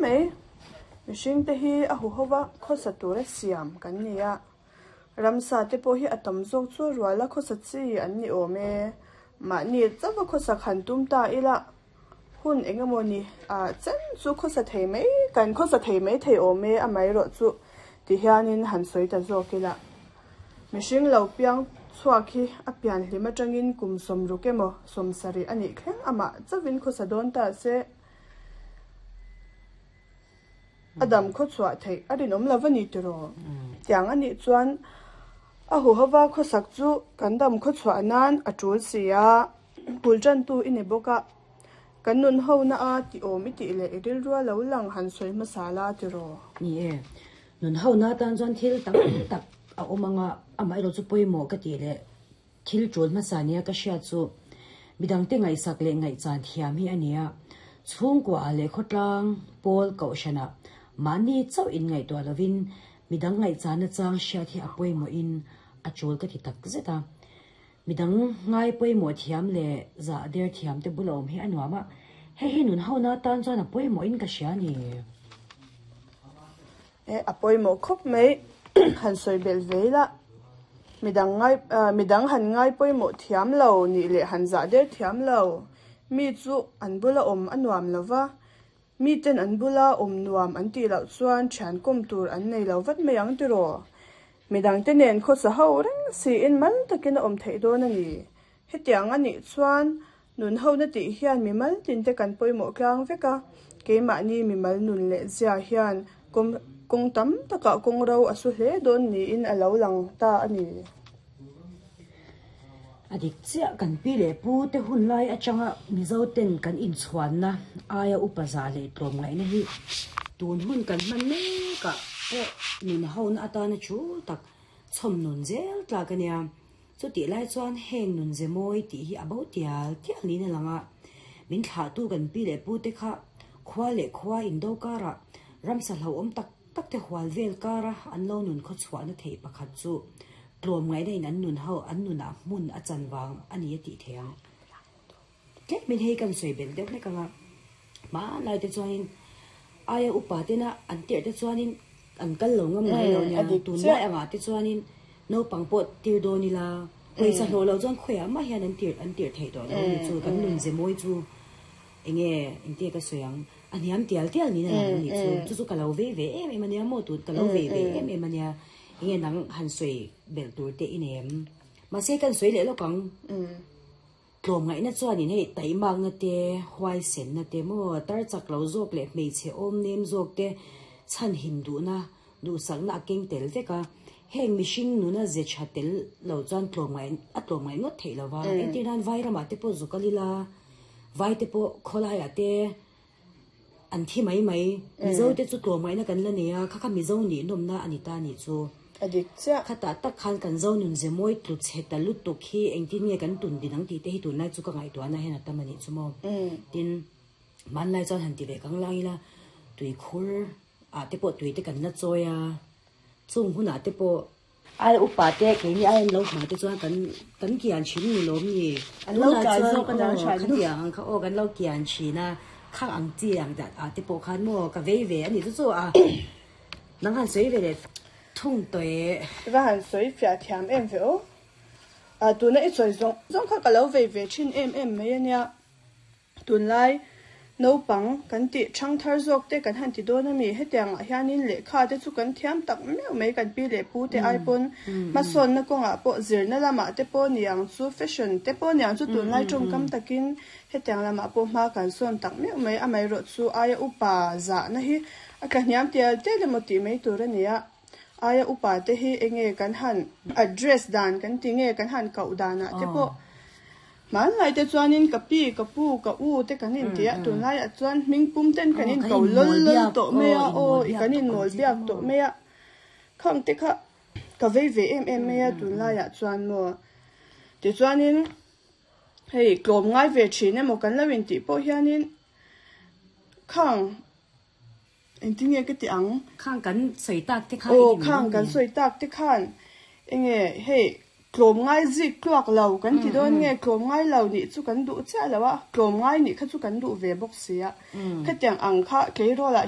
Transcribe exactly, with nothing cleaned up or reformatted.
mai. Mihringte hi a huhova khawsa tura siam kan ni a, ramsa te pawh hi a tam zawk chu ruala khawsa chi an ni awm e. Mahni chauha khawsak han tum ta ila hun eng emaw ni ah chen chu khawsa thei mai kan khawsa thei mai thei awm e amaherawhchu ti hianin han sawi ta zawk ila. Mihring lo piang chhuak hi a pian hlim atangin kum sawmruk emaw sawm sarih a nih thleng amah chauhin khawsa dawn ta se a dam khaw chhuah theih a rinawm lo a ni tiraw? Tiang a nih chuan a huhova khawsak chu kan dam khaw chhuah nan a tul si a, bul tantu i ni bawk a, kan nun ho na a tih awm i tih leh i rilrua lo lang han sawi hmasa la tiraw? Ni e, nun ho na atan chuan thil tam tak a awm ang a, amaherawh chu pawimawh ka tih leh thil tul hmasa nia ka hriat chu midangte ngaihsak leh ngaihchan thiam hi a ni a. Chhungkua ah leh khawtlang pawl kohhranah mahni chauh inngaihtuah lovin midang ngaihchan nachang hriat hi a pawimawhin a tul ka ti tak zet a. Midang ngai pawimawh thiam leh zah der thiam te bula awm hi a nuam a, hei hi nun hona atan chuan a pawimawhin ka hria a ni. E, a pawimawh khawp mai. Han sawi belh ve ila, midang ngai, midang han ngai pawimawh thiam lo nih leh han zah der thiam lo mi chu an bula awm a nuam lo va, miten an bula awm nuam an tih loh chuan thian kawm tur an nei lo vat mai ang tiraw? Midangte nen khawsa ho reng siin mal takin a awm theih dawn a ni. Hetiang a nih chuan nun hona tih hian mimal tinte kan pawimawh tlang vek a, keimahni mimal nun leh zia hian kawng tam takah kawng ro a su hle dawn niin a lo lang ta a ni. A dik chiah kan pi leh pu te hun lai atanga Mizo ten kan inchhuanna aia upa zah leh tlawmngaihna hi tun hun kan hman mekah pawh nun hona atana thu tak chhawm nun zel tlak a nia. Chutih lai chuan heng nun ze mawi tih hi a bo tial tial niin a lang a. Min thlahtu kan pi leh pu te kha khua leh khua indo karah ramsa hlauhawm tak tak te hual vel kara an lo nun khawchhuahna theih pakhat chu tlawmngaihna in an nun ho an nunah hmun a chan vang a ni a tih theih ang. Tlemin hei kan sawi belh deuh hlek ang a, hmanlai te chuanin aia upa tena an tirh te chuanin an kal lo ngam ngai lo nia, tunlai angah te chuanin naupang pawh tir dawn ila, pawisa hlawh loh chuan khawiah mah hian an tirh an tirh theih tawh lo a ni chu, kan nun ze mawi chu enge engtia ka sawi ang, a hniam tial tial niin a lang a nih chu, chu chu ka lo vei ve em em a nia maw tun ka lo vei ve em em a nia, enge nang han sawi belh tur te i nei em? Mahse kan sawi leh lawk ang. Tlawmngaihna chuanin hei taihmakna te, huaisenna te maw, tar chak lo zawk leh hmeichhe awm nem zawk te chhanhim duhna, duhsakna a keng tel vek a. Heng mihring nuna ze tha tel lo chuan tlawmngaih a tlawmngaih ngawt theih lo va. Entir nan vai ramah te pawh zuk a lila, vai te pawh khawlaiah te an thi mai mai. Mizo te chu tlawmngaihna kan la nei a, kha kha Mizo nih nawmna a ni ta nih chu. A dik chiah. Khatah tak khan kan zo nun ze mawi tlu chhe ta lutuk hi engtin nge kan tun din ang tih te hi tunlai chu ka ngaihtuahna hian a tam a nih chu maw. Tin, hmanlai chuan han ti ve kang lang ila, tuikhur ah te pawh tui te kan la chawi a, chung hunah te pawh ai upa te keini ai an lo hma te chuan kan kan kian thin ni lawm ni. An lo tlai zawk a nia tha nu. Khatiang ang kha aw kan lo kian thin a, khang ang chi ang ah te pawh khan maw ka vei ve a ni chu chu a. Nang han sawi ve leh thung tawh e. I va han sawi fiah thiam em ve aw. Ah tuna i sawi zawng zawng kha ka lo vei ve thin em em mai a nia. Tunlai naupang kan tih thang thar zawk te kan han ti dawn a mi. Hetiang ah hianin lehkha te chu kan thiam tak meuh mai kan pi leh pu te ai pawn hmasawnna kawngah pawh zirna lamah te pawh niang chu fashion te pawh niang chu tunlai tawngkam takin hetiang lamah pawh hma kan sawn tak meuh mai. Amaherawh chu aia upa zahna hi a tlahniam tial tial emaw tih mai tur a ni a. Aia upa te hi enge kan han address dan kan ti nge kan han koh danah te pawh hmanlai te chuanin ka pi, ka pu, ka u te kan inti a, tunlaiah chuan hming pum ten kan inko lawl lawl tawh mai a, aw i kan inmawl biak tawh mai a, khang te kha ka vei ve em em mai a tunlaiah chuan maw. Tichuanin hei tlawm ngai ve thin emaw kan lo intih pawh hianin khang Engtin nge ka ti ang? Khang kan sawi tak te khan. Aw, khang kan sawi tak te khan enge hei tlawm ngai zik tluak lo kan ti dawn nge tlawm ngai lo nih chu kan duh chiah lo a, tlawm ngai nih kha chu kan duh ve bawk si a. Khatiang ang kha tleirawl ah